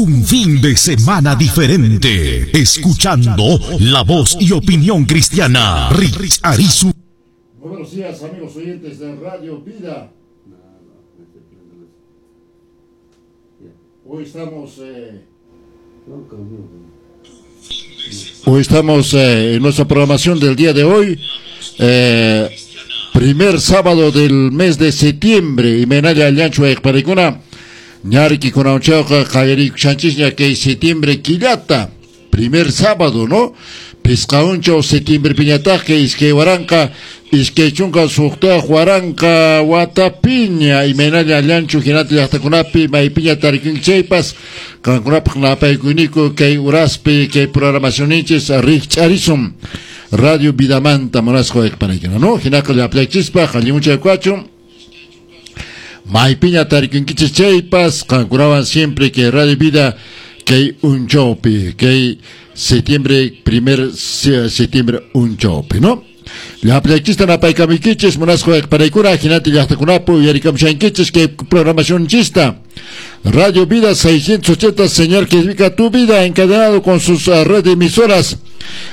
Un fin de semana diferente. Escuchando la voz y opinión cristiana. Rich Arizu. Buenos días, amigos oyentes de Radio Vida. Hoy estamos, en nuestra programación del día de hoy, primer sábado del mes de septiembre, y menaya allanchu ayqparikuna, ñariki kunawchawqa qallariykushanchikña kay septiembre killata, primer sábado, ¿no? Pisqaunchaw septiembre piñataqqa 2026 waranqa watapiña, imaynalla allanchu hinata llaqtakunapi maypiña tarikunki chaypas, qankunapaq napaykuyniku kay uraspi kay programacionninchis rikch'arisun Radio Vidamanta munasqa wayqpanaykuna, ¿no? Hinaqa llapllaykchispaq allimuchay kachun. Maypiña tarikunkichis chaypas, qankunawan siempre que Radio Vida kay unchawpi, kay septiembre, primer septiembre unchawpi, ¿no? Llapllaykchista napaykamuykichis munasqa wayqpanaykuna, hinata llaqtakunapi uyarikamushankichis kay programacionchista. Radio Vida 680, señor que edifica tu vida, encadenado con sus red de emisoras.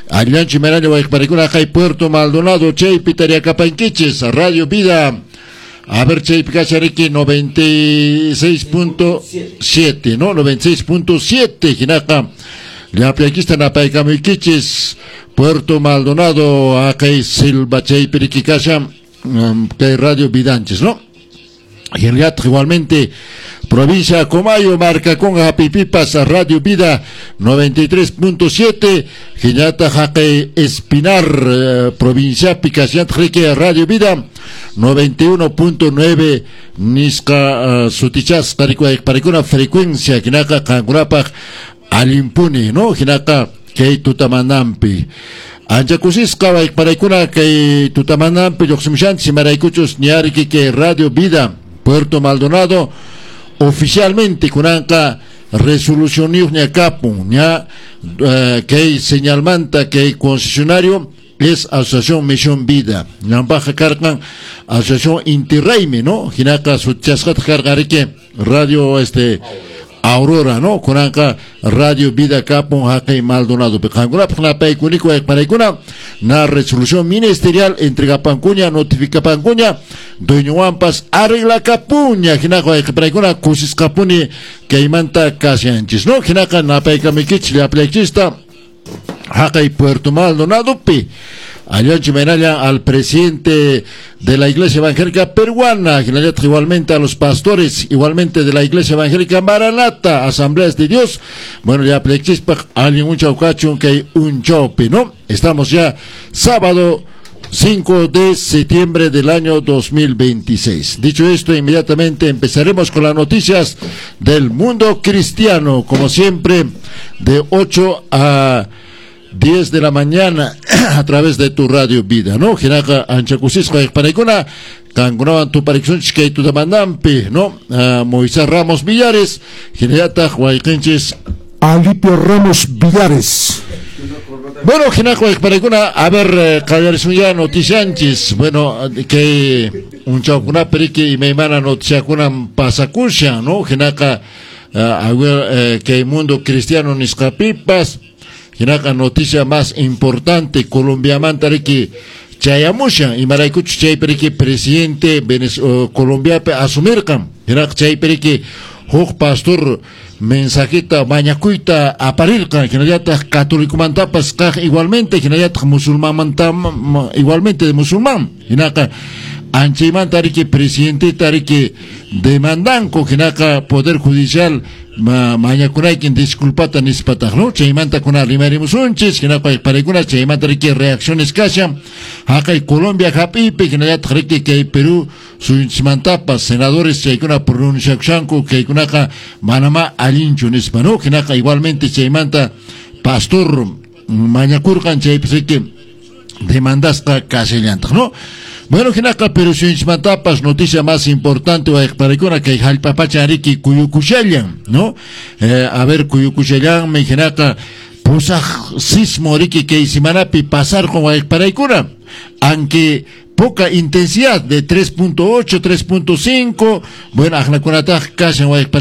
Allanchi Meraña wayqpanaykuna, kay Puerto Maldonado, chaypi tariakapankichis, Radio Vida. A ver, chaypi kashariki 96.7, ¿no? 96.7, hinaqa llapllaykista napaykamuykichis, Puerto Maldonado, akay Silva chaypi riki kashan, kay Radio Vidanchis, ¿no? Y en realidad, igualmente, provincia Comayo, marca con Japipipas, Radio Vida 93.7, Jiñata Jaque Espinar, provincia Picasiat, Rique, Radio Vida 91.9, Nisca, Sutichas, Paricuna, frecuencia, Jinaka, Kankurapaj, Alimpuni, ¿no? Jinaka, kay tutamanampi. Ancha kusisqa wayqparaykuna kay tutamanampi lluqsimushanchis, imaraykuchus ñariki kay Radio Vida Puerto Maldonado oficialmente kunanqa resolucioniyuqña kapun, ña kay señalmanta kay concesionario es Asociación Misión Vida. Ñampaqa karqan Asociación Inti Raymi, ¿no? Hinaqa sutichasqataq karqan riki Radio Aurora, ¿no? Kunanqa Radio Vida kapun haqay Maldonado. Qankunapaq napaykuniku wayqpanaykuna, na resolución ministerial entregapankuña, notificapankuña, dueñowanpas arreglakapuña, hinaqa wayqpanaykuna kusisqapuni kaymanta kashanchis, ¿no? Hinaqa napaykamuykichis llaplaykichista haqay Puerto Maldonadopi. Allanchi Menaya al presidente de la Iglesia Evangélica Peruana, igualmente a los pastores, igualmente de la Iglesia Evangélica Maranata, Asambleas de Dios. Bueno, ya plexispa, alguien un chaucachun que un chope, ¿no? Estamos ya sábado 5 de septiembre del año 2026. Dicho esto, inmediatamente empezaremos con las noticias del mundo cristiano, como siempre, de 8 a 10 de la mañana a través de tu Radio Vida, ¿no? Hinaqa ancha kusisqa wayqpanaykuna, qankunawan tuparikusunchis kay tutamanampi, ¿no? Moisés Ramos Villares, hinallataq wayqinchis Alipio Ramos Villares. Bueno, hinaqa wayqpanaykuna, a ver, qallarisun ya noticianchis. Bueno, kay unchawkunapi riki imaymana noticiakunan pasakushan, ¿no? Hinaqa, a ver, kay mundo cristiano nisqapipas, hinaqa noticia más importante Colombiamanta riki chayamushan, imaraykuchus chaypi riki presidente Colombiapi asumirqan, hinaqa chaypi riki huk pastor mensajita mañakuyta aparirqan, hinallataq católicomantapas kaq igualmente, hinallataq musulmanmanta igualmente de musulmán, hinaqa anchaymanta riki presidenteta riki demandanku, hinaqa poder judicial mañakunaykin disculpata nispataq, ¿no? Chaymanta kuna rimarimusunchis, hinaqa wayqpanaykuna chaymanta riki reacciones kashan haqay Colombia hap'ipi, hinallataq riki kay Perú suyunchikmantapas senadores chaykuna pronunciakushanku kaykunaqa manamá allinchu nispa, ¿no? Hinaqa igualmente chaymanta pastor mañakurqan chaypis riki demandasqa kashallantaq, ¿no? Bueno, hinaqa Perú suyunchikmantapas noticia más importante wayqpanaykuna kay hallp'apacha riki kuyukushallan, ¿no? A ver, kuyukushallanmi hinaqa pusaq sismo riki kay semanapi pasarqun wayqpanaykuna, aunque poca intensidad de 3.8, 3.5, bueno, aqnakunataq kashan wayqpanaykuna.